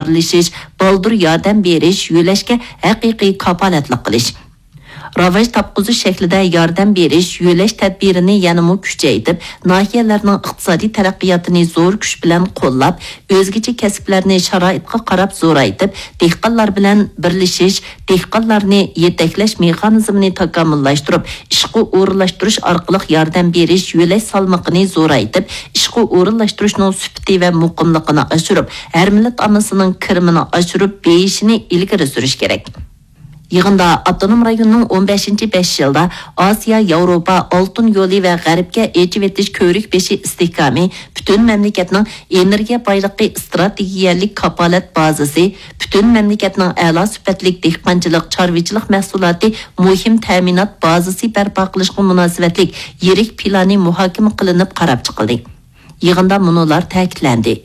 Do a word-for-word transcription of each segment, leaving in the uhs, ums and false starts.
ئىلگىرىلىشىش، بالدۇر ياردەم بېرىش، يۆلەشكە ھەقىقىي كاپالەتلىك قىلىش. راۋاج تاپقۇزۇش شەكلىدە ياردەم بېرىش، يۆلەش تەدبىرىنى يەنىمۇ كۈچەيتىپ، ناھىيەلەرنىڭ ئىقتىسادىي تەرەققىياتىنى زور كۈچ بىلەن قوللاپ، ئۆزگىچە كەسىپلەرنى شارائىتقا قاراپ زورايتىپ، دېھقانلار بىلەن بىرلىشىش، دېھقانلارنى يېتەكلەش مېخانىزمىنى تاكامۇللاشتۇرۇپ، ئىشقا ئورۇنلاشتۇرۇش ئارقىلىق ياردەم بېرىش، يۆلەش سالمىقىنى زورايتىپ، ئىشقا ئورۇنلاشتۇرۇشنىڭ سۈپىتى ۋە مۇقىملىقىنى ئاشۇرۇپ، ھەر مىللەت ئاممىسىنىڭ كىرىمىنى ئاشۇرۇپ، بېيىشىنى ئىلگىرى سۈرۈش كېرەك. يىغىندا ئاپتونوم رايوننىڭ ئون بەشىنچى بەش يىلدا ئاسىيا، ياۋروپا ئالتۇن يولى ۋە غەربكە ئېچىۋېتىش كۆۋرۈك بېشى ئىستىھكامى، پۈتۈن مەملىكەتنىڭ ئېنېرگىيە بايلىقى ئىستراتېگىيەلىك كاپالەت بازىسى، پۈتۈن مەملىكەتنىڭ ئەلا سۈپەتلىك دېھقانچىلىق، چارۋىچىلىق مەھسۇلاتى مۇھىم تەمىنات بازىسى بەرپا قىلىشقا مۇناسىۋەتلىك يىرىك پىلانى مۇھاكىمە قىلىنىپ قاراپ چىقىلدى. يىغىندا مۇنۇلار تەكىتلەندى.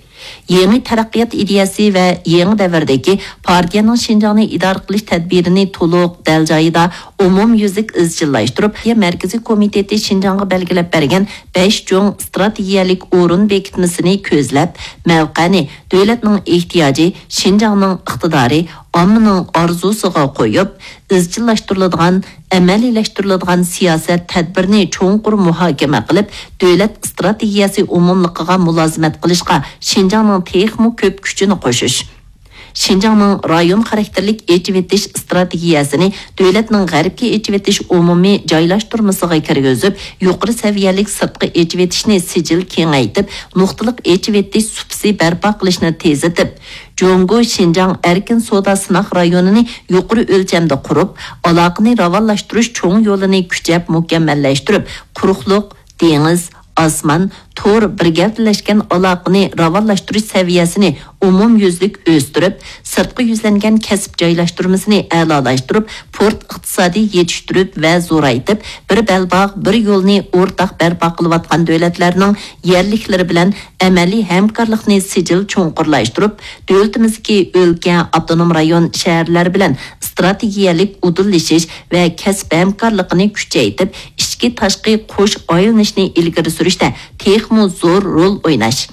يېڭى تەرەققىيات ئىدىيەسى ۋە يېڭى دەۋردىكى پارتىيەنىڭ شىنجاڭنى ئىدارە قىلىش تەدبىرىنى تولۇق، دەل جايىدا، ئومۇميۈزلۈك ئىزچىللاشتۇرۇپ، پارتىيە مەركىزىي كومىتېتى شىنجاڭغا بەلگىلەپ بەرگەن بەش چوڭ ئىستراتېگىيەلىك ئورۇن بېكىتمىسىنى كۆزلەپ، مەۋقەنى دۆلەتنىڭ ئېھتىياجى، شىنجاڭنىڭ ئىقتىدارى، ئاممىنىڭ ئارزۇسىغا قويۇپ، ئىزچىللاشتۇرۇلىدىغان، ئەمەلىيلەشتۈرۈلىدىغان سىياسەت تەدبىرىنى چوڭقۇر مۇھاكىمە قىلىپ، دۆلەت ئىستراتېگىيەسى ئومۇملۇقىغا مۇلازىمەت قىلىشقا شىنجاڭنىڭ تېخىمۇ كۆپ كۈچىنى قوشۇش. شىنجاڭنىڭ رايون خاراكتېرلىك ئېچىۋېتىش ئىستراتېگىيەسىنى دۆلەتنىڭ غەربكە ئېچىۋېتىش ئومۇمىي جايلاشتۇرمىسىغا كىرگۈزۈپ، يۇقىرى سەۋىيەلىك سىرتقى ئېچىۋېتىشنى سىجىل كېڭەيتىپ، نۇقتىلىق ئېچىۋېتىش سۇپىسى بەرپا قىلىشنى تېزلىتىپ، جۇڭگو شىنجاڭ ئەركىن سودا سىناق رايونىنى يۇقىرى ئۆلچەمدە قۇرۇپ، ئالاقىنى راۋانلاشتۇرۇش چوڭ يولىنى كۈچەپ مۇكەممەللەشتۈرۈپ، قۇرۇقلۇق، دېڭىز، ئاسمان، تور بىر گەۋدىلەشكەن ئالاقىنى راۋانلاشتۇرۇش سەۋىيەسىنى ئومۇميۈزلۈك ئۆستۈرۈپ، سىرتقا يۈزلەنگەن كەسىپ جايلاشتۇرمىسىنى ئەلالاشتۇرۇپ، پورت ئىقتىسادى يېتىشتۈرۈپ ۋە زورايتىپ، بىر بەلباغ، بىر يولنى ئورتاق بەرپا قىلىۋاتقان دۆلەتلەرنىڭ يەرلىكلىرى بىلەن ئەمەلىي ھەمكارلىقنى سىجىل چوڭقۇرلاشتۇرۇپ، دۆلىتىمىزدىكى ئۆلكە، ئاپتونوم رايون، شەھەرلەر بىلەن ئىستراتېگىيەلىك ئۇدۇللىشىش ۋە كەسىپ ھەمكارلىقىنى كۈچەيتىپ، ئىچكى، تاشقى قوش ئايلىنىشنى ئىلگىرى سۈرۈشتە تېخىمۇ زور رول ئويناش.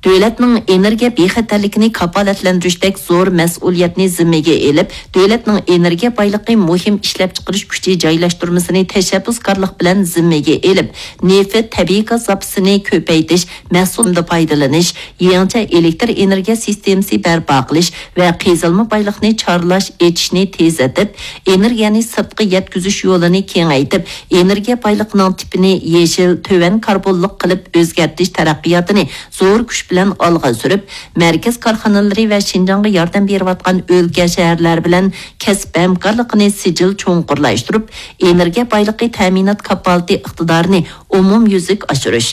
دۆلەتنىڭ ئېنېرگىيە بىخەتەرلىكىنى كاپالەتلەندۈرۈشتەك زور مەسئۇلىيەتنى زىممىگە ئېلىپ، دۆلەتنىڭ ئېنېرگىيە بايلىقى مۇھىم ئىشلەپچىقىرىش كۈچى جايلاشتۇرمىسىنى تەشەببۇسكارلىق بىلەن زىممىگە ئېلىپ، نېفىت، تەبىئىي گاز زاپىسىنى كۆپەيتىش، مەھسۇلاتنى پايدىلىنىش، يېڭىچە ئېلېكتر ئېنېرگىيە سىستېمىسى بەرپا قىلىش ۋە قېزىلما بايلىقنى چارلاش، ئېچىشنى تېزلىتىپ، ئېنېرگىيەنى سىرتقا يەتكۈزۈش يولىنى كېڭەيتىپ، ئېنېرگىيە بايلىقىنىڭ تىپىنى يېشىل، تۆۋەن كاربونلۇق قىلىپ ئۆزگەرتىش تەرەققىياتىنى زور كۈچ بىلەن ئالغا سۈرۈپ، مەركەز كارخانىلىرى ۋە شىنجاڭغا ياردەم بېرىۋاتقان ئۆلكە، شەھەرلەر بىلەن كەسىپ ھەمكارلىقىنى سىجىل چوڭقۇرلاشتۇرۇپ، ئېنېرگىيە بايلىقى تەمىنات كاپالىتى ئىقتىدارىنى ئومۇميۈزلۈك ئاشۇرۇش.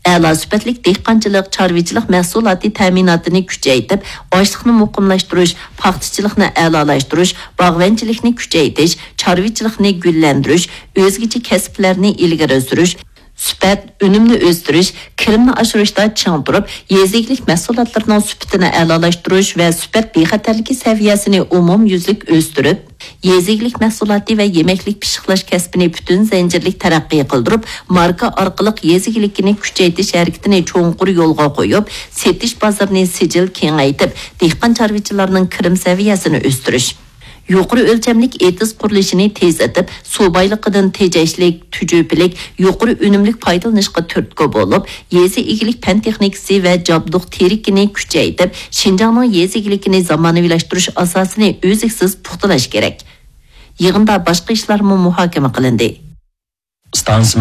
ئەلا سۈپەتلىك دېھقانچىلىق، چارۋىچىلىق مەھسۇلاتى تەمىناتىنى كۈچەيتىپ، ئاشلىقنى مۇقىملاشتۇرۇش، پاختىچىلىقنى ئەلالاشتۇرۇش، باغۋەنچىلىكنى كۈچەيتىش، چارۋىچىلىقنى گۈللەندۈرۈش، ئۆزگىچە كەسىپلەرنى ئىلگىرى سۈرۈش، سۈپەت، ئۈنۈمنى ئۆستۈرۈش، كىرىمنى ئاشۇرۇشتا چىڭ تۇرۇپ، يېزا ئىگىلىك مەھسۇلاتلىرىنىڭ سۈپىتىنى ئەلالاشتۇرۇش ۋە سۈپەت بىخەتەرلىكى سەۋىيەسىنى ئومۇميۈزلۈك ئۆستۈرۈپ، يېزا ئىگىلىك مەھسۇلاتى ۋە يېمەكلىك پىششىقلاش كەسپىنى پۈتۈن زەنجىرلىك تەرەققىي قىلدۇرۇپ، ماركا ئارقىلىق يېزا ئىگىلىكىنى كۈچەيتىش ھەرىكىتىنى چوڭقۇر يولغا قويۇپ، سېتىش بازىرىنى سىجىل كېڭەيتىپ، دېھقان چارۋىچىلارنىڭ كىرىم سەۋىيەسىنى ئۆستۈرۈش. يۇقىرى ئۆلچەملىك ئېتىز قۇرۇلۇشىنى تېزلىتىپ، سۇ بايلىقىدىن تېجەشلىك، تۈجۈپىلىك، يۇقىرى ئۈنۈملۈك پايدىلىنىشقا تۈرتكە بولۇپ، يېزا ئىگىلىك پەن تېخنىكىسى ۋە جابدۇق تېرىكىنى كۈچەيتىپ، شىنجاڭنىڭ يېزا ئىگىلىكىنى زامانىۋىلاشتۇرۇش ئاساسىنى ئۈزلۈكسىز پۇختىلاش كېرەك. يىغىندا باشقا ئىشلارمۇ مۇھاكىمە قىلىندى. ئىستانسىمىز